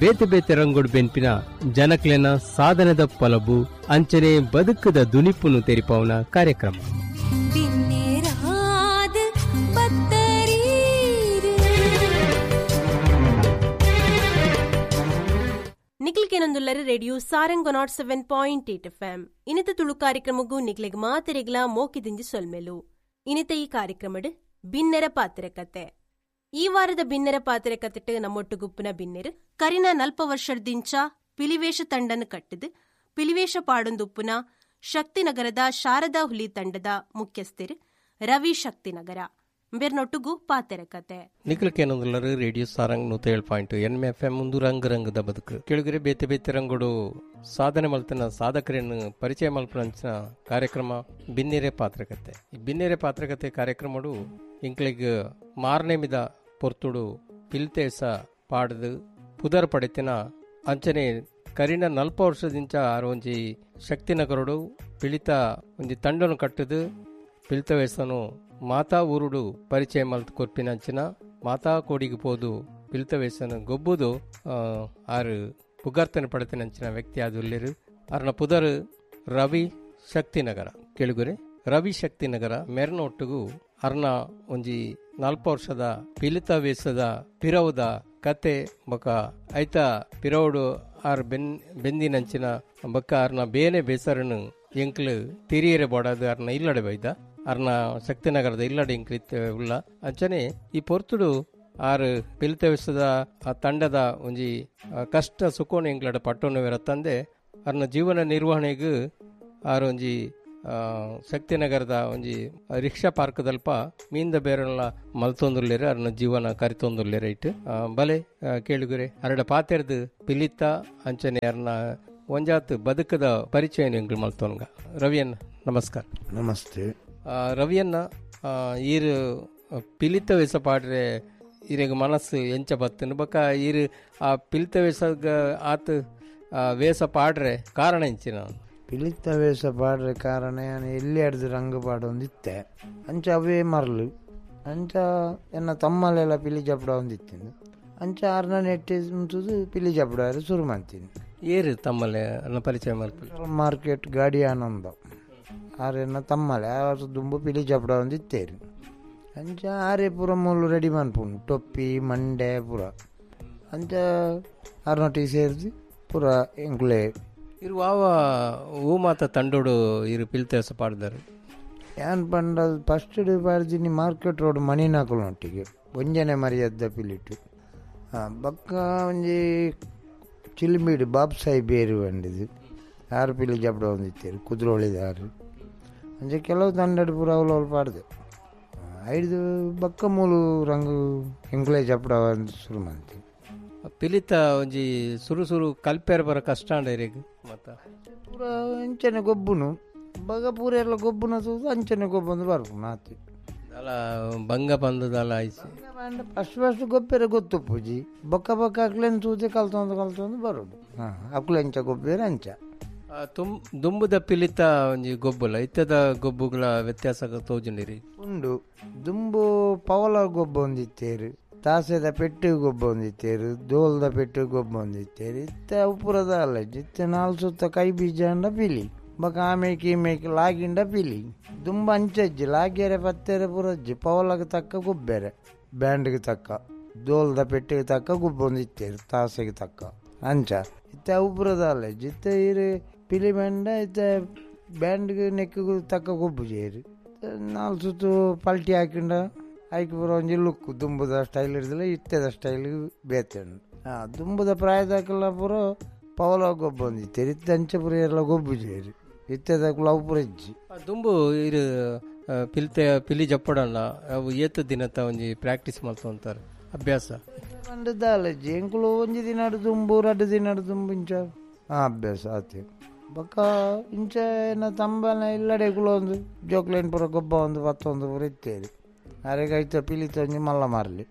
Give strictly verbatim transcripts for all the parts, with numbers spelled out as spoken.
ಬೇತೆ ಬೇತೆ ರಂಗೋಡು ಬೆನ್ಪಿನ ಜನಕ್ಲೆನ ಸಾಧನದ ಪಲಬು ಅಂಚನೆ ಬದುಕದ ದುನಿಪುನು ತೆರಿಪಾವನ ಕಾರ್ಯಕ್ರಮ. ನಿಕ್ಲಿಕೇನೊಂದುಲ್ಲರ radio Sarang nought seven point eight F M ಇನಿತ ತುಳು ಕಾರ್ಯಕ್ರಮಗೂ ನಿಕ್ಲೆಗ್ ಮಾತೆರೆಗ್ಲಾ ಮೋಕಿದಿಂಜಿ ಸೊಲ್ಮೆಲು. ಇನಿತ ಈ ಕಾರ್ಯಕ್ರಮಡ್ ಬಿನ್ನೆರ ಪಾತ್ರೆ ಕತೆ. ಈ ವಾರದ ಬಿನ್ನೆರ ಪಾತ್ರೆ ಕತೆಟ್ ನಮ್ಮೊಟ್ಟು ಗುಪ್ಪುನ ಬಿನ್ನೆರು ಕರಿನ ನಲ್ಪ ವರ್ಷದಿಂಚ ಪಿಲಿವೇಶ ತಂಡನ ಕಟ್ಟಿದ್ ಪಿಲಿವೇಶ ಪಾಡೊಂದುಪ್ಪುನ ಶಕ್ತಿನಗರದ ಶಾರದಾ ಹುಲಿ ತಂಡದ ಮುಖ್ಯಸ್ಥರು ರವಿ ಶಕ್ತಿನಗರ ಬೇರ್ನೊಟ್ಟುಗು ಪಾತೆರ ಕತೆ. ನಿಖಲಕೇನೊಂದುಲ್ಲರು ರೇಡಿಯೋ ಸಾರಂಗ್ ನೂತ ಏಳು ಪಾಯಿಂಟ್ ಎನ್ ಎಫ್ ಎಂ ಒಂದು ರಂಗ ರಂಗದ ಬದುಕು ಕೆಳಗರೆ ಬೇತೆ ಬೇತೆ ರಂಗುಡು ಸಾಧನೆ ಮಲ್ತನ ಸಾಧಕರನ್ನು ಪರಿಚಯ ಮಲ್ಪನಂಚಿನ ಕಾರ್ಯಕ್ರಮ ಬಿನ್ನೆರೆ ಪಾತ್ರಕತೆ. ಈ ಬಿನ್ನೆರೆ ಪಾತ್ರಕತೆ ಕಾರ್ಯಕ್ರಮಡು ಇಂಕ್ಲೆಗ್ ಮಾರನೇಮಿದ ಪೊರ್ತುಡು ಪಿಲ್ತೇಸ ಪಾಡದು ಪುದರ್ ಪಡೆತಿನ ಅಂಚನೆ ಕರಿನ ನಲ್ಪ ವರ್ಷದಿಂಚ ಆರು ಒಂಜಿ ಶಕ್ತಿನಗರುಡು ಪಿಳಿತ ಒಂಜಿ ತಂಡನು ಕಟ್ಟದು ಪಿಳಿತ ವೇಸನು ಮಾತಾ ಊರುಡು ಪರಿಚಯ ಮಲ್ತು ಕೊರ್ಪಿನಂಚಿನ ಮಾತಾ ಕೋಡಿಗೆ ಪೋದು ಪಿಲಿತ ವೇಸನು ಗೊಬ್ಬುದು ಆರು ಪುಗಾರ್ತನೆ ಪಡೆತಿನಂಚಿನ ವ್ಯಕ್ತಿ ಆದುಲ್ಲೇರು. ಅರ್ನ ಪುದರ್ ರವಿ ಶಕ್ತಿನಗರ. ಕೇಳುಗುರೆ ರವಿ ಶಕ್ತಿನಗರ ಮೆರ್ನ ಒಟ್ಟುಗು ಅರ್ನ ಒಂಜಿ ನಲ್ಪ ವರ್ಷದ ಪಿಲಿತ ವೇಸದ ಪಿರವುದ ಕತೆ ಬೊಕ ಐತ ಪಿರವುಡು ಆರ್ ಬೆನ್ ಬೆಂದಿನಂಚಿನ ಬೊಕ್ಕ ಅರ್ನ ಬೇನೆ ಬೇಸರನು ಎಂಕ್ಲು ತಿರಿಯರೆ ಬೋಡಾದು ಅರ್ನ ಇಲ್ಲಡೆ ಬೈದ ಅರ್ನ ಶಕ್ತಿನಗರದ ಇಲ್ಲಡೆ ಇಂಕ್ಲಿತ್ ಉಳ್ಳ ಅಂಚನೆ ಈ ಪೊರ್ತುಡು ಆರು ಪಿಲಿತ ವೇಸದ ಆ ತಂಡದ ಒಂಜಿ ಕಷ್ಟ ಸುಖೋಣ ಎಂಕ್ಲಡ ಪಟ್ಟೋನು ತಂದೆ ಅರ್ನ ಜೀವನ ನಿರ್ವಹಣೆಗೆ ಆರು ಒಂಜಿ ಶಕ್ತಿನಗರದ ಒಂಜಿ ರಿಕ್ಷಾ ಪಾರ್ಕ್ದಲ್ಪ ಮೀಂದ ಬೇರೆಲ್ಲ ಮಲ್ತೊಂದುಲ್ಲೇರು ಅರ್ನ ಜೀವನ ಕರಿತೊಂದುಲ್ಲೇರು ಇಟ್ಟು ಬಲೆ ಕೇಳುಗುರೆ ಅರಡ ಪಾತೆರ್ದು ಪಿಲಿತ ಅಂಚನೆ ಅರ್ನ ಒಂಜಾತ್ ಬದುಕದ ಪರಿಚಯ ಎಂಕ್ಲು ಮಲ್ತೊನ್ಗ. ರವಿಯನ್ನ ನಮಸ್ಕಾರ. ನಮಸ್ತೆ ರವಿಯನ್ನ, ಈರು ಪಿಲಿತ ವೇಸ ಪಾಡ್ರೆ ಈರೆಗ್ ಮನಸ್ಸು ಎಂಚ ಬತ್ತನು ಬೊಕ ಈರು ಆ ಪಿಲಿತ ವೇಸ ಆತ್ ವೇಸ ಪಾಡ್ರೆ ಕಾರಣ ಎಂಚಿನ? ಪಿಲಿತ ವೇಷ ಪಾಡ್ರೆ ಕಾರಣ ಎಲ್ಲಿ ಅಡ್ದು ರಂಗ ಪಾಡೊಂದಿತ್ತೆ ಅಂಚ ಅವೇ ಮರಲು ಅಂಚ ಎನ್ನ ತಮ್ಮಲೆಲ್ಲ ಪಿಲಿ ಜಪಡ ಒಂದಿತ್ತಿಂದು ಅಂಚ ಆರ್ನ ನೆಟ್ಟಿ ಉಂತುದು ಪಿಲಿ ಜಪಡ ಶುರು ಮಾಡ್ತೀನಿ. ಏರು ತಮ್ಮಲೆ ಅನ್ನ ಪರಿಚಯ ಮಲ್ಪು? ಮಾರ್ಕೆಟ್ ಗಾಡಿ ಆನಂದ ಆರೆನ್ನ ತಮ್ಮಲೆ ಆರು ದುಂಬು ಪಿಲಿ ಜಪಡ ಒಂದಿತ್ತೇರು ಅಂಚ ಆರೆ ಪೂರ ಮೂಲು ರೆಡಿ ಮನ್ಪುಂಡು ಟೊಪ್ಪಿ ಮಂಡೆ ಪೂರ ಅಂಚ ಆರ್ನೊಟ್ಟಿಗೆ ಸೇರಿದು ಪೂರ ಎಂಕುಲೆ ಇರು ವಾವ ಹೂ ಮಾತ ತಂಡೋಡು ಇರು ಪಿಲ್ತೇಸ ಪಾಡ್ದಾರೆ. ಏನ್ ಪಂಡ ಫಸ್ಟ್ ಪಾಡ್ದಿನಿ ಮಾರ್ಕೆಟ್ ರೋಡ್ ಮಣಿನಾಕುಲೊಟ್ಟಿಗೆ ಒಂಜನೆ ಮರ್ಯಾದ ಪಿಲಿಟು ಬೊಕ್ಕ ಒಂಜಿ ಚಿಲ್ಮಿಡು ಬಾಬ್ ಸಾಹೇಬ್ ಬೇರು ಬಂದಿದ್ದು ಆರು ಪಿಲಿ ಜಪಡ ಒಂದಿತ್ತೇರು ಕುದುರೋಳಿದಾರು ಅಂಚೆ ಕೆಲವು ತಂಡಡು ಪೂರ ಅವಳು ಅವಳು ಪಾಡ್ದೆ ಐದು ಬೊಕ್ಕ ಮೂಲು ರಂಗು ಎಂಕ್ಲೆ ಜಪಡ ಶುರು ಮಾಡ್ತೀವಿ. ಪಿಲಿತ ಒಂಜಿ ಸುರು ಸುರು ಕಲ್ಪೇರ್ ಬರ ಕಷ್ಟ ಅಂಡ ಇರೆಗ್ ಮತ್ತ ಪೂರ ಅಂಚನೆ ಗೊಬ್ಬುನು ಬಗ ಪೂರ ಎಲ್ಲ ಗೊಬ್ಬುನ ತೂದು ಅಂಚನೆ ಗೊಬ್ಬಂದು ಬರ್ಪುನು ಆತಿ ಅಲ್ಲ ಬಂಗ ಬಂದದಲ್ಲ ಐಸಿ ಫಸ್ಟ್ ಫಸ್ಟ್ ಗೊಬ್ಬೆರೆ ಗೊತ್ತುಪ್ಪುಜಿ ಬೊಕ್ಕ ಬೊಕ್ಕ ಅಕ್ಲೆನ್ ತೂದೆ ಕಲ್ತೊಂದು ಕಲ್ತೊಂದು ಬರೋದು. ಹಾಂ ಅಕ್ಲೆ ಅಂಚ ಗೊಬ್ಬೇರೆ ಅಂಚ ತುಂ ದುಂಬುದ ಪಿಲಿತ ಒಂಜಿ ಗೊಬ್ಬುಲ ಇತ್ತದ ಗೊಬ್ಬುಗಳ ವ್ಯತ್ಯಾಸ ತೋಜುಂಡಿರಿ ಉಂಡು. ದುಂಬು ಪವಲ ಗೊಬ್ಬ ಒಂದಿತ್ತೇರು, ತಾಸೆದ ಪೆಟ್ಟು ಗೊಬ್ಬ ಒಂದಿತ್ತೇರು, ದೋಲ್ದ ಪೆಟ್ಟು ಗೊಬ್ಬ ಒಂದಿತ್ತೇರು. ಇತ್ತ ಉಪ್ಪುರದ ಅಲ್ಲ ಇತ್ತೆ ನಾಲ್ ಸುತ್ತ ಕೈ ಬೀಜ ಅಂಡ ಪಿಲಿ ಬೊಕ ಆಮೇಕೆ ಈಮೇಕೆ ಲಾಗಿಂಡ ಪಿಲಿ ದುಂಬ ಅಂಚಜ್ಜಿ ಲಾಗ್ಯರೆ ಪತ್ತೆರೆ ಪುರಜ್ಜಿ ಪವಲಗೆ ತಕ್ಕ ಗೊಬ್ಬೆರೆ ಬ್ಯಾಂಡ್ಗೆ ತಕ್ಕ ದೋಲ್ದ ಪೆಟ್ಟಿಗೆ ತಕ್ಕ ಗೊಬ್ಬ ಒಂದಿತ್ತೇರು ತಾಸೆಗೆ ತಕ್ಕ ಅಂಚ ಇತ್ತೆ ಉಪ್ಪುರದ ಅಲ್ಲ ಇತ್ತೆ ಇರು ಪಿಲಿ ಬ್ಯಾಂಡ ಇತ್ತೆ ಬ್ಯಾಂಡ್ಗೆ ನೆಕ್ಕಿಗೂ ತಕ್ಕ ಗೊಬ್ಬು ಜೇರು ನಾಲ್ ಸುತ್ತು ಪಲ್ಟಿ ಹಾಕಿಂಡ ಐಕ್ ಪೂರ ಒಂಜಿ ಲುಕ್ ದುಂಬುದ ಸ್ಟೈಲ್ ಇರ್ದಿಲ್ಲ ಇತ್ತೆದ ಸ್ಟೈಲ್ ಬೇತೆ. ಹಾಂ ದುಂಬುದ ಪ್ರಾಯದಾಕಲ್ಲ ಪೂರ ಪವಲ ಗೊಬ್ಬ ಒಂದಿತ್ತೇರು ಇತ್ತೆ ಅಂಚ ಪೂರ ಎಲ್ಲ ಗೊಬ್ಬು ಜೇರು ಇತ್ತೆದಕ್ಕೂ ಅವು ಪೂರ ಇಜ್ಜಿ. ದುಂಬು ಇರು ಪಿಲಿತೆ ಪಿಲಿ ಜಪ್ಪಡಲ್ಲ ಅವು ಏತ ದಿನತ ಒಂಜಿ ಪ್ರಾಕ್ಟೀಸ್ ಮಲ್ತೊಂತಾರೆ ಅಭ್ಯಾಸ ಪಂಡ ದಾಲಜ್ಜಿ ಎಂಕುಲು ಒಂಜಿ ದಿನ ದುಂಬು ರಡ್ಡು ದಿನ ದುಂಬು ಇಂಚ ಹಾಂ ಅಭ್ಯಾಸ ಆತೆ ಬೊಕ್ಕ ಇಂಚ ಏನ ತಂಬನ ಇಲ್ಲಡೆ ಒಂದು ಜೋಕ್ಲೇನ್ ಪೂರ ಗೊಬ್ಬ ಒಂದು ಪತ್ತೊಂದು ಪೂರ ಇತ್ತೇರಿ ಆರೆಗ್ ಐತ ಪಿಲಿತ ಒಂಜಿ ಮಲ್ಲ ಮಾರ್ಲಿ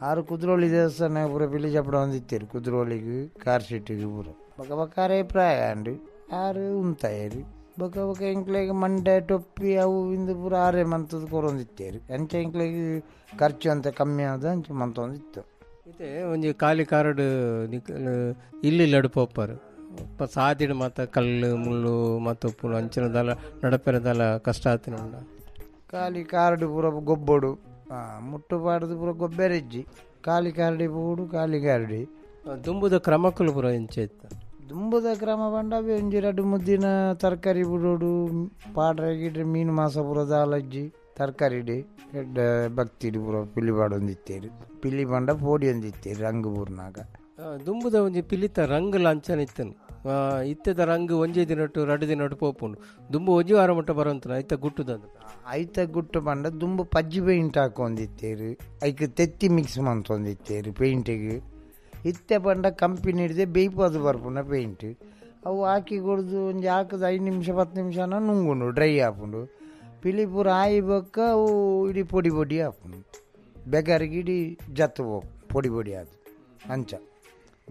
ಆರು ಕುದ್ರೋಳಿ ದೇವಸ್ಥಾನ ಪೂರ ಪಿಲಿ ಜಪಡ ಒಂದು ಇತ್ತೇರಿ ಕುದ್ರೋಳಿಗೆ ಕಾರ್ ಸೀಟಿಗೆ ಪೂರ ಬೊಕ್ಕ ಬೊಕ್ಕ ಆರೇ ಪ್ರಾಯ ಅಂಡು ಆರು ಉಂತಾಯರಿ ಬೊಕ್ಕ ಬೊಕ್ಕ ಎಂಕ್ಲೆಗ್ ಮಂಡೆ ಟೊಪ್ಪಿ ಅವು ಇಂದು ಪೂರ ಆರೆ ಮಂತದ ಕೊರೊಂದಿತ್ತೇರಿ ಅಂಚ ಎಂಕ್ಲೆಗ್ ಖರ್ಚು ಅಂತ ಕಮ್ಮಿ ಆದ ಅಂಚ ಮಂತೊಂದಿತ್ತು. ಇತ್ತೆ ಒಂಜಿ ಖಾಲಿ ಕಾರಡ್ ಇಲ್ಲಿ ಲಡು ಪೋಪರ್ ಸಾದಿಡ್ ಮಾತ ಕಲ್ಲು ಮುಳ್ಳು ಮತ್ತು ಉಪ್ಪುನು ಅಂಚಿನ ದಲ ನಡಪೆರ ದಲ ಕಷ್ಟ ಆತಿನ ಉಂಡ. ಖಾಲಿ ಕಾರ್ಡ್ ಪೂರ ಗೊಬ್ಬೊಡು, ಮುಟ್ಟು ಪಾಡ್ದು ಪೂರ ಗೊಬ್ಬೆರೆಜ್ಜಿ. ಖಾಲಿ ಕಾರ್ಡಿ ಪೋಡು ಖಾಲಿ ಕಾರ್ಡಿ. ದುಂಬುದ ಕ್ರಮಕ್ಕಲು ಪೂರ ಎಂಚ ಇತ್ತು? ದುಂಬುದ ಕ್ರಮ ಪಂಡ ಅವೇ ಒಂಜಿ ರಡ್ಡು ಮುದ್ದಿನ ತರಕಾರಿ ಬಿಡೋಡು, ಪಾಡ್ರೆ ಗಿಡ್ರೆ ಮೀನು ಮಾಸ ಪೂರ ದಾಲಜ್ಜಿ ತರಕಾರಿ ಎಡ್ಡೆ ಭಕ್ತಿಡು ಪೂರ ಪಿಲಿ ಪಾಡೊಂದಿತ್ತೇರು. ಪಿಲಿ ಪಂಡ ಪೋಡಿ ಒಂದಿತ್ತೇರು ರಂಗು ಪೂರ್ನಾಗ. ದುಂಬುದ ಒಂಜಿ ಪಿಲಿತ ರಂಗು ಲಾಂಛನ ಇತ್ತನು. ಇತ್ತೆದ ರಂಗು ಒಂಜೇ ದಿನಟ್ಟು ರಡ್ಡು ದಿನಟ್ಟು ಪೋಪುಂಡು. ದುಂಬು ಒಂಜಿ ವಾರ ಮುಟ್ಟ ಬರೋಂತನ ಐತ ಗುಟ್ಟುದ. ಐತ ಗುಟ್ಟು ಪಂಡ ದುಂಬು ಪಜ್ಜಿ ಪೇಂಟ್ ಹಾಕೊಂದಿತ್ತೇರು, ಐಕ್ ತೆತ್ತಿ ಮಿಕ್ಸ್ ಮಂತೊಂದಿತ್ತೇರು ಪೇಂಟಿಗೆ. ಇತ್ತೆ ಪಂಡ ಕಂಪನಿ ಹಿಡ್ದೆ ಬೇಯ್ಪಾದು ಬರ್ಪುನ ಪೇಂಟ್. ಅವು ಹಾಕಿ ಕೊಡ್ದು ಒಂಜಿ ಹಾಕದ ಐದು ನಿಮಿಷ ಪತ್ತು ನಿಮಿಷನ ನುಂಗುಂಡು ಡ್ರೈ ಆಪುಂಡು. ಪಿಲಿ ಪೂರ ಆಯಿ ಬೊಕ್ಕ ಅವು ಇಡೀ ಪೊಡಿ ಪೊಡಿ ಆಪುಂಡು, ಬೆಗರಿಗೆ ಇಡೀ ಜತ್ತು ಹೋಗ್ ಪೊಡಿ ಪೊಡಿ ಆದು ಅಂಚ.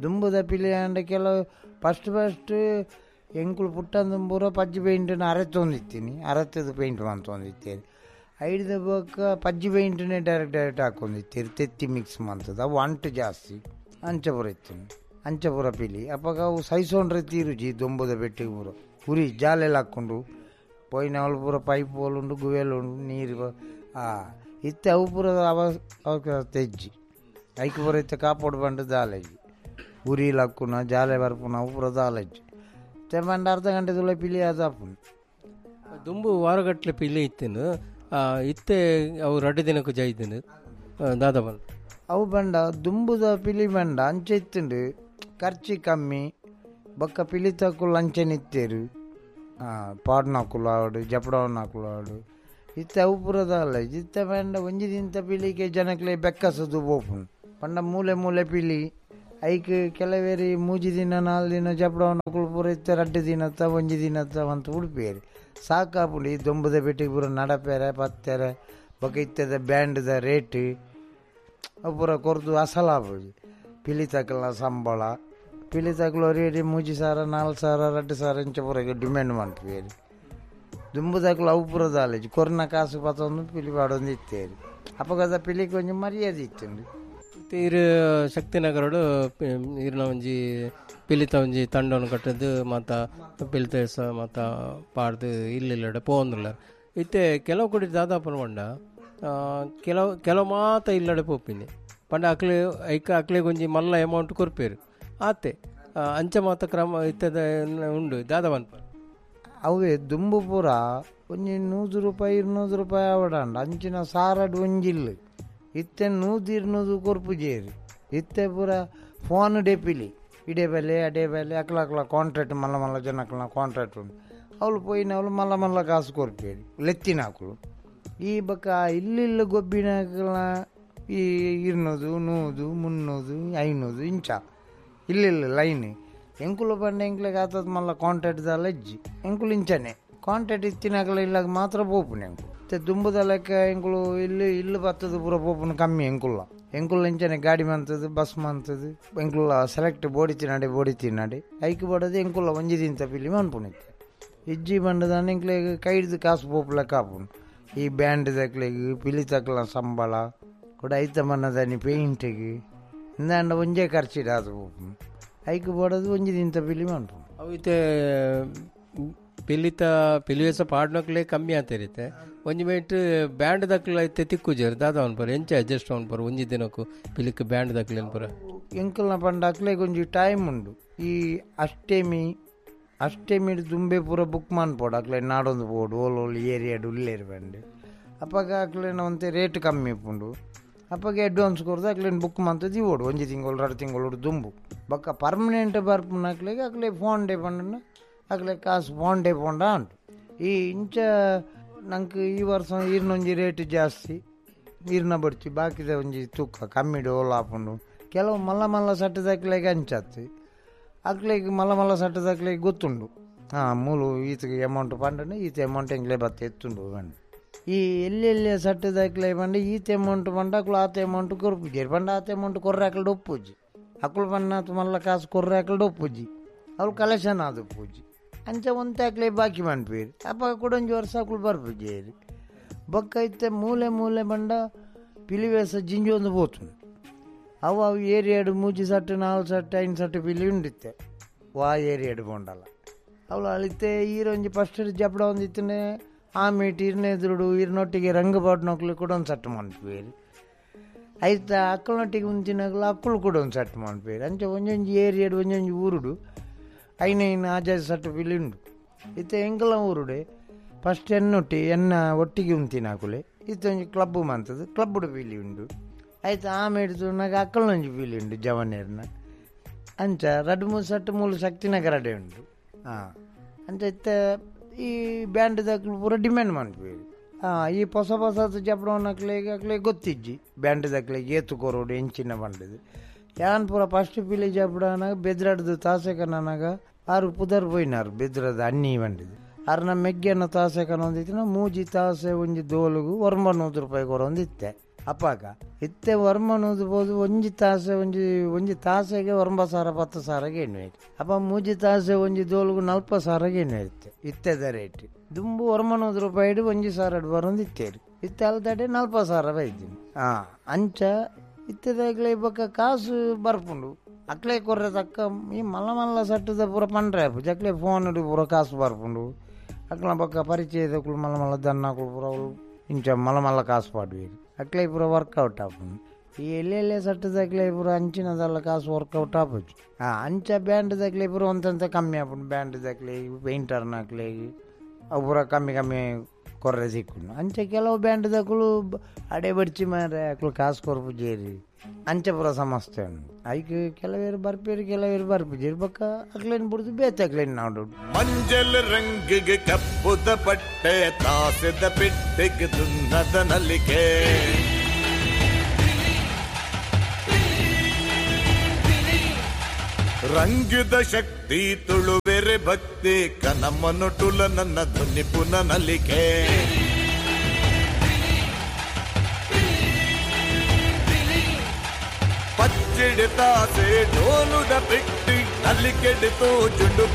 ದುಂಬುದ ಪಿಲಿ ಅಂಡ ಕೆಲವು ಫಸ್ಟ್ ಫಸ್ಟ್ ಎಂಕುಲು ಪುಟ್ಟಂದುಂಬೂರ ಪಜ್ಜಿ ಪೇಂಟನ್ನು ಅರೆತೊಂದಿತ್ತೀನಿ, ಅರೆತದ ಪೇಂಟ್ ಮಂತೊಂದಿತ್ತೇನೆ. ಐಡ್ದ ಬೊಕ್ಕ ಪಜ್ಜಿ ಪೇಂಟನ್ನೇ ಡೈರೆಕ್ಟ್ ಡೈರೆಕ್ಟ್ ಹಾಕೊಂದಿತ್ತೀರಿ, ತೆತ್ತಿ ಮಿಕ್ಸ್ ಮಂತದ ಅವು ಅಂಟು ಜಾಸ್ತಿ ಅಂಚ ಪೂರ ಇತ್ತೀನಿ ಅಂಚ ಪೂರ ಪಿಲಿ. ಅಪ್ಪಾಗ ಅವು ಸೈಸೋಂಡ್ರೆ ತೀರುಜಿ ದೊಂಬುದ ಬೆಟ್ಟಿಗೆ ಪೂರ ಉರಿ ಜಾಲೆಲ್ಲ ಹಾಕ್ಕೊಂಡು ಪೋಯಿನವಳು ಪೂರ ಪೈಪ್ ಹೋಲುಂಡು ಗುವೆಲ್ ಉಂಡು ನೀರು ಇತ್ತೆ ಅವು ಪೂರ ಅವ ಅವಕ ತೆಜ್ಜಿ ಐಕ್ ಪೂರ ಇತ್ತೆ ಕಾಪೋಡು ಬಂಡು ದಾಲಜ್ಜಿ ಉರಿ ಲಕ್ಕುನ ಜಾಲೆ ಬರ್ಪುನ ಅವು ಪೂರ ದಾಲಜ್ಜಿ ಇತ್ತೆ ಬಂಡ ಅರ್ಧ ಗಂಟೆ ತುಳ ಪಿಲಿ ಅದಾಪುಂಡು. ದುಂಬು ವಾರಗಟ್ಟಲೆ ಪಿಲಿ ಇತ್ತೇನು, ಇತ್ತೆ ಅವು ರಡ್ಡು ದಿನಕ್ಕೂ ಜೈದಿನ ದಾದ ಬಂದು ಅವು ಬಂಡ ದುಂಬುದ ಪಿಲಿ ಬಂಡ ಅಂಚೆ ಇತ್ತುಂಡು ಖರ್ಚಿ ಕಮ್ಮಿ ಬೊಕ್ಕ ಪಿಲಿ ತಕ್ಕುಲು ಅಂಚೆನಿತ್ತೇರು ಪಾಡ್ನಾಕುಲು ಆವಡು ಜಪಡವನಾಕುಲು ಆವಡು. ಇತ್ತೆ ಅವು ಪೂರದ ಅಲ್ಲ. ಇತ್ತೆ ಪಂಡ ಒಂಜಿ ದಿನದ ಪಿಲಿಗೆ ಜನಕ್ಲೆ ಬೆಕ್ಕಸದು ಪೋಪುಂಡು ಪಂಡ ಮೂಲೆ ಮೂಲೆ ಪಿಲಿ ಐಕ್ ಕೆಲವೇರಿ ಮೂಜಿ ದಿನ ನಾಲ್ ದಿನ ಜಪಡವನಾಕುಲು ಪೂರ ಇತ್ತೆ ರಡ್ಡು ದಿನತ್ತ ಒಂಜಿ ದಿನತ್ತ ಅಂತ ಉಡುಪಿಯರು ಸಾಕಾಪುಂಡು. ಈ ದೊಂಬುದ ಬೆಟ್ಟಿಗೆ ಪೂರ ನಡಪೇರೆ ಪತ್ತೆರೆ ಬೊಕ್ಕ ಇತ್ತದ ಬ್ಯಾಂಡ್ದ ರೇಟ್ ಅವು ಪೂರ ಕೊರ್ದು ಅಸಲಾಪುಜಿ. ಪಿಲಿ ತಕ್ಕಲ ಸಂಬಳ ಪಿಲಿ ತಕ್ಕಲು ರೇಟ್ ಮೂಜಿ ಸಾವಿರ ನಾಲ್ಕು ಸಾವಿರ ರಡ್ಡು ಸಾವಿರ ಇಂಚ ಪೂರ ಡಿಮ್ಯಾಂಡ್ ಮಾಡ್ತೀವಿ. ದುಂಬು ತಕ್ಕಲು ಅವು ಪೂರ ದಾಲೇಜು ಕೊರ್ನ ಕಾಸು ಪತ್ತೊಂದು ಪಿಲಿ ಪಾಡೊಂದು ಇತ್ತೇರಿ. ಅಪ್ಪಗದ ಪಿಲಿಗೆ ಒಂಜಿ ಮರ್ಯಾದೆ ಇತ್ತುಂಡು. ಇರು ಶಕ್ತಿನಗರಡು ಇರ್ನ ಒಂಜಿ ಪಿಲಿತ ಒಂಜಿ ತಂಡವನ್ನು ಕಟ್ಟದು ಮಾತ ಪಿಲಿತ ಮಾತ ಪಾಡ್ದು ಇಲ್ಲಿಲ್ಲಡೆ ಪೋಂದುಲ್ಲ. ಇತ್ತೆ ಕೆಲವು ಕೊಡಿ ದಾದಾಪನ ಪಂಡ ಕೆಲವು ಕೆಲವು ಮಾತ ಇಲ್ಲಡೆ ಪೋಪಿನಿ ಪಂಡ ಅಕ್ಲೆ ಐಕ ಅಕ್ಲೆಗೆ ಒಂಜಿ ಮಲ್ಲ ಅಮೌಂಟ್ ಕೊರ್ಪೇರು ಆತೆ ಅಂಚ ಮಾತ ಕ್ರಮ ಇತ್ತದ ಉಂಡು ದಾದ ಪನ್ಪ. ಅವೇ ದುಂಬು ಪೂರ ಒಂಜಿ ನೂರು ರೂಪಾಯಿ ಇರ್ನೂರು ರೂಪಾಯಿ ಆವಡಂಡ ಅಂಚಿನ ಸಾರಡು ಒಂಜಿಲ್ಲು ಇತ್ತೆ ನೂದು ಇರ್ನೂದು ಕೊರ್ಪುಜೇರು. ಇತ್ತೆ ಪೂರ ಫೋನ್ ಡೆಪಿಲಿ ಇಡೇ ಬೆಲೆ ಅಡೇ ಬೆಲೆ ಅಕ್ಲ ಅಕ್ಲ ಕಾಂಟ್ರಾಕ್ಟ್ ಮಲ್ಲ ಮಲ್ಲ ಜನಕ್ಲ ಕಾಂಟ್ರಾಕ್ಟ್ ಉಂಡು ಅವಳು ಪೋಯಿನ ಅವಳು ಮಲ್ಲ ಮಲ್ಲ ಕಾಸು ಕೊರ್ಪೇರು ಲೆತ್ತಿನಾಕುಲು. ಈ ಬೊಕ್ಕ ಇಲ್ಲಿಲ್ಲ ಗೊಬ್ಬಿನಾಕಲ ಈ ಇರ್ನೂದು ನೂದು ಮುನ್ನೂದು ಐನೂದು ಇಂಚ ಇಲ್ಲಿಲ್ಲ ಲೈನ್ ಎಂಕುಲು ಪಂಡ ಎಂಕ್ಲೆಗ್ ಆತದ ಮಲ್ಲ ಕಾಂಟ್ರಾಕ್ಟ್ ದಾಲ ಇಜ್ಜಿ ಎಂಕುಲು ಇಂಚನೆ ಕಾಂಟ್ರಾಕ್ಟ್ ಇತ್ತಿನಾಕಲ ಇಲ್ಲಾಗ ಮಾತ್ರ ಪೋಪುನು ಎಂಕುಲು. ಇತ್ತೆ ದುಂಬುದ ಲೆಕ್ಕ ಎಂಕುಲು ಇಲ್ಲಿ ಇಲ್ಲು ಬತ್ತದ ಪೂರ ಪೋಪುನು ಕಮ್ಮಿ ಎಂಕುಲ್ಲ. ಎಂಕುಲು ಇಂಚನೆ ಗಾಡಿ ಮಂತದ್ದು ಬಸ್ ಮಂತದ್ದು ಎಂಕುಲ್ಲ ಸೆಲೆಕ್ಟ್ ಬೋಡಿ ತಿನ್ನಾಡೆ ಬೋಡಿ ತಿನ್ನಾಡೆ ಐಕ್ ಬೋಡದು ಎಂಕುಲ್ಲ ಒಂಜಿ ದಿನ ಪಿಲಿ ಮನ್ಪುನಿತ್ತೆ. ಇಜ್ಜಿ ಬಂಡದಾನೆ ಎಂಕ್ಲೆಗ್ ಕೈ ಹಿಡ್ದು ಕಾಸು ಪೋಪು ಲೆಕ್ಕ ಆಪುಂಡು. ಈ ಬ್ಯಾಂಡ್ ತಕ್ಲೆಗ್ ಪಿಲಿ ತಕ್ಲ ಸಂಬಳ ಕೂಡ ಐತ ಮನ್ನದಾನಿ ಪೇಂಟಿಗೆ ಇಂದಾಂಡ ಒಂಜೇ ಖರ್ಚಿಡಾದು ಪೋಪುನು ಐಕ್ ಬೋಡದು ಒಂಜಿ ದಿನ ಪಿಲಿ ಮನ್ಪುನು. ಅವು ಇತ್ತೆ ಪಿಲಿತ ಪಿಲಿವೇಸ ಪಾಡ್ನಕ್ಲೆ ಕಮ್ಮಿ ಆತಿರುತ್ತೆ. ಒಂಜಿ ಮೇಟ್ ಬ್ಯಾಂಡ್ ದಕ್ಲ ಇತ್ತೆ ತಿಕ್ಕುಜೇರು ದಾದ ಅನ್ಪರ ಎಂಚ ಅಡ್ಜಸ್ಟ್ ಅನ್ಪರ ಒಂಜಿ ದಿನಕ್ಕೂ ಪಿಲಿಕ್ ಬ್ಯಾಂಡ್ ದಕ್ಲೆ ಅನ್ಪರ. ಎಂಕಲ್ನ ಪಂಡ ಅಕ್ಲೆಗ್ ಒಂಜಿ ಟೈಮ್ ಉಂಡು. ಈ ಅಷ್ಟೆಮಿ ಅಷ್ಟೆಮಿ ದುಂಬೆ ಪೂರ ಬುಕ್ ಮನ್ಪೋಡು ಅಕ್ಲೆ ನಾಡೊಂದು ಪೋಡು ಓಲ್ ಓಲ್ ಏರಿಯಾಡು ಉಲ್ಲೇರು ಬಂಡು ಅಪ್ಪಗ ಅಕ್ಲೆನ ಒಂತೆ ರೇಟ್ ಕಮ್ಮಿ ಉಪ್ಪುಂಡು. ಅಪ್ಪಗೆ ಅಡ್ವಾನ್ಸ್ ಕೊರ್ದು ಅಕ್ಲೇನು ಬುಕ್ ಮಂತದ್ದು ಇವೋಡು ಒಂಜಿ ತಿಂಗಳು ಎರಡು ತಿಂಗಳು ದುಂಬು ಬೊಕ್ಕ ಪರ್ಮನೆಂಟ್ ಬರ್ಪುನ ಅಕ್ಲೆಗ್ ಅಕ್ಲೆ ಫೋನ್ ಡೇ ಪಂಡ ಅಕ್ಲೆ ಕಾಸು ಫೋನ್ ಡೇ ಪೋಂಡ ಉಂಟು. ಈ ಇಂಚ ನಂಗೆ ಈ ವರ್ಷ ಈರ್ನೊಂಜಿ ರೇಟ್ ಜಾಸ್ತಿ ಈರ್ನ ಬಡ್ತಿ ಬಾಕಿದ ಒಂಜಿ ತೂಕ ಕಮ್ಮಿಡು ಓಲ ಆಪುಂಡು. ಕೆಲವು ಮಲ್ಲ ಮಲ್ಲ ಸಟ್ಟದಕ್ಲೆಗ್ ಅಂಚಾತು ಅಕ್ಲೆಗ್ ಮಲ್ಲ ಮಲ್ಲ ಸಟ್ಟದಕ್ಲೆಗ್ ಗೊತ್ತುಂಡು ಹಾಂ ಮೂಲು ಈತಗೆ ಅಮೌಂಟ್ ಪಂಡನೆ ಈತ ಅಮೌಂಟ್ ಎಂಗ್ಲೇ ಬತ್ತ ಎತ್ತುಂಡು ಪಂಡ. ಈ ಎಲ್ಲೆಲ್ಲಿ ಸಟ್ಟದಕ್ಲೆ ಪಂಡ ಈತ ಅಮೌಂಟ್ ಪಂಡ ಅಕ್ಲು ಆತ ಅಮೌಂಟ್ ಕೊರ್ಪುಜೇರು ಪಂಡ ಆತ ಅಮೌಂಟ್ ಕೊರ್ರೆ ಅಕ್ಲಡ್ ಒಪ್ಪುಜಿ ಅಕ್ಲು ಪಂಡ ಮಲ್ಲ ಕಾಸು ಕೊರ್ರೆ ಅಕ್ಲಡ್ ಒಪ್ಪುಜಿ ಅವ್ಳು ಕಲೆಕ್ಷನ್ ಆದ ಪೂಜಿ ಅಂಚ ಒಂತೆ ಅಕ್ಲೆ ಬಾಕಿ ಮನ್ಪೇರು ಅಪ್ಪ ಕೂಡ ಒಂಜಿ ವರ್ಷ ಅಕ್ಲು ಬರ್ಪುಜೇರು. ಬೊಕ್ಕ ಇತ್ತೆ ಮೂಲೆ ಮೂಲೆ ಬಂಡ ಪಿಲಿವೇಸ ಜಿಂಜಿ ಒಂದು ಪೋತುಂಡು. ಅವು ಅವು ಏರಿಯಾಡು ಮೂಜಿ ಸಟ್ಟು ನಾಲ್ ಸಟ್ಟು ಐನ್ ಸಟ್ಟು ಪಿಲಿ ಉಂಡಿತ್ತೆ ವಾ ಏರಿಯಾಡು ಪೋಂಡಲ ಅವಳು ಅಳಿತೆ ಈರೊಂಜಿ ಫಸ್ಟ್ ಜಪಡ ಒಂದಿತ್ತನೆ ಆ ಮೀಟ್ ಇರ್ನ ಎದುರುಡು ಇರ್ನೊಟ್ಟಿಗೆ ರಂಗ ಪಾಡ್ನೊಕ್ಲು ಕೂಡ ಒಂದು ಸಟ್ಟು ಮನ್ಪೇರು ಐತ ಅಕ್ಕಳನೊಟ್ಟಿಗೆ ಉಂಚಿನಾಗಲು ಅಕ್ಕಳು ಕೂಡ ಒಂದು ಸೆಟ್ ಮನ್ಪೇರು ಅಂಚೆ ಒಂಜೊಂಜಿ ಏರಿಯಾಡು ಒಂಜೊಂಜಿ ಊರುಡು ಐನೈನ್ ಆಜಾಜಿ ಸಟ್ಟು ಪಿಲಿ ಉಂಡು ಇತ್ತೆ ಎಂಕಲ ಊರುಡೆ ಫಸ್ಟ್ ಎನ್ನೊಟ್ಟಿ ಎನ್ನ ಒಟ್ಟಿಗೆ ಉಂತಿನಾಕುಲೆ ಇತ್ತೊಂಜಿ ಕ್ಲಬ್ ಮಂತದ್ದು ಕ್ಲಬ್ಬುಡು ಪಿಲಿ ಉಂಡು ಆಯ್ತು ಆಮೇಲೆ ನಾಗ ಅಕ್ಕಳೊಂಜಿ ಪಿಲಿ ಉಂಡು ಜವನೇರ್ನ ಅಂಚ ರಡ್ಡು ಮೂರು ಸಟ್ಟು ಮೂಲು ಶಕ್ತಿನಗರಡೆ ಉಂಡು ಹಾಂ ಅಂಚ ಇತ್ತೆ ಈ ಬ್ಯಾಂಡ್ ದಕ್ಲು ಪೂರ ಡಿಮ್ಯಾಂಡ್ ಮನ್ಪೇರು ಹಾಂ ಈ ಹೊಸ ಹೊಸ ಜಪಡವನಕ್ಲೆಗೆ ಅಕ್ಲೆ ಗೊತ್ತಿಜ್ಜಿ ಬ್ಯಾಂಡ್ ದಕ್ಲೆಗೆ ಏತು ಕೊರೋಡು ಎಂಚಿನ ಬಂಡದು ಯಾನ್ ಪೂರ ಫಸ್ಟ್ ಪಿಲಿ ಜಪಡನಾಗ ಬೆದ್ರಾಡ್ದು ತಾಸೆಕನಾಗ ಆರು ಪುದರ್ ಪೋಯಿನಾರು ಬೆದ್ರದ ಅಣ್ಣಿ ಬಂಡಿದು ಆರ್ನ ಮೆಗ್ಗೆನ ತಾಸೆಕನ ಒಂದಿತ್ತಿನ ಮೂಜಿ ತಾಸೆ ಒಂಜಿ ದೋಲುಗು ಒರ್ಂಬ ನೂರು ರೂಪಾಯಿ ಕೊರೊಂದಿತ್ತೆ ಅಪ್ಪಾಗ ಇತ್ತೆ ಒರ್ಂಬ ನೂದು ಪೋದು ಒಂಜಿ ತಾಸೆ ಒಂಜಿ ಒಂಜಿ ತಾಸೆಗೆ ಒರ್ಂಬ ಸಾರ ಪತ್ತು ಸಾರಗೆ ಎಣ್ಣೆ ಅಪ್ಪ ಮೂಜಿ ತಾಸೆ ಒಂಜಿ ದೋಲುಗು ನಲ್ಪ ಸಾರಗೆ ಎಣ್ಣೆ ಇತ್ತೆ ಇತ್ತೆದ ರೇಟ್ ದುಂಬು ಒರ್ಂಬ ನೂದು ರೂಪಾಯಿ ಒಂಜಿ ಸಾರ ಬರೊಂದು ಇತ್ತೇರಿ ಇತ್ತೆ ಅಲ್ದಡೆ ನಲ್ಪ ಸಾರ ಬೈತೀನಿ ಹಾಂ ಅಂಚ ಇತ್ತೆದಾಗಲೇ ಬೊಕ್ಕ ಕಾಸು ಬರ್ಪುಂಡು ಅಕ್ಲೆ ಕೊರ್ರೆ ತಕ್ಕ ಈ ಮಲ್ಲ ಮಲ್ಲ ಸಟ್ಟದ ಪೂರ ಪಂಡ್ರೆ ಜಕ್ಲೆ ಫೋನ್ ಪೂರ ಕಾಸು ಬರ್ಪುಂಡು ಅಕ್ಲ ಬೊಕ್ಕ ಪರಿಚಯದಕ್ಕಳು ಮಲ್ಲ ಮಲ್ಲ ದನ್ನಕುಳು ಪೂರ ಅವ್ಳು ಇಂಚ ಮಲ್ಲ ಮಲ್ಲ ಕಾಸು ಪಾಡುವೇರು ಅಕ್ಲೆ ಪೂರ ವರ್ಕೌಟ್ ಆಪುಂಡು ಈ ಎಲ್ಲೆಲ್ಲೇ ಸಟ್ಟದಕ್ಲೆ ಪೂರ ಅಂಚಿನದಲ್ಲ ಕಾಸು ವರ್ಕೌಟ್ ಆಪುಜಿ ಹಾಂ ಅಂಚ ಬ್ಯಾಂಡ್ ದಕ್ಲೆ ಪೂರ ಒಂತಂತ ಕಮ್ಮಿ ಆಪುಂಡು ಬ್ಯಾಂಡ್ ದಕ್ಲೆ ಪೇಂಟರ್ನಕ್ಲೆ ಅವು ಪೂರ ಕಮ್ಮಿ ಕಮ್ಮಿ ಕೊರ್ರೆ ಸಿಕ್ಕುಂಡು ಅಂಚ ಕೆಲವು ಬ್ಯಾಂಡ್ ದಕ್ಕಳು ಅಡೆ ಬಡ್ಚಿ ಮಾರೆ ಅಕ್ಲು ಕಾಸು ಕೊರ್ಪು ಜೇರಿ ಅಂಚ ಪೂರ ಸಮಸ್ಯೆ ಉಂಡು ಐಕ್ ಕೆಲವೇರು ಬರ್ಪೇರು ಕೆಲವೇರು ಬರ್ಪುಜೇರು ಬೊಕ್ಕ ಅಕ್ಲೇನ್ ಬುಡ್ದು ಬೇತೆ ಅಕ್ಲೇನ್ ನಾಡು ಮಂಜಲ್ ರಂಗಿಗೆ ಕಪ್ಪುದ ಪಟ್ಟೆ ತಾಸೆದ ಪೆಟ್ಟಿಗೆ ದುನ್ನದ ನಲಿಕೆ ರಂಗದ ಶಕ್ತಿ ತುಳುವೆರೆ ಭಕ್ತಿ ಕನಮನು ಟುಲ ನನ್ನ ಧ್ವನಿ ಪುನ ನಲಿಕೆ ಪಚ್ಚಿಡಿ ತಾಸೆ ಡೋಲುದ ಪೆಟ್ಟಿ ನಲಿಕೆಡಿತು ಜುಂಡು.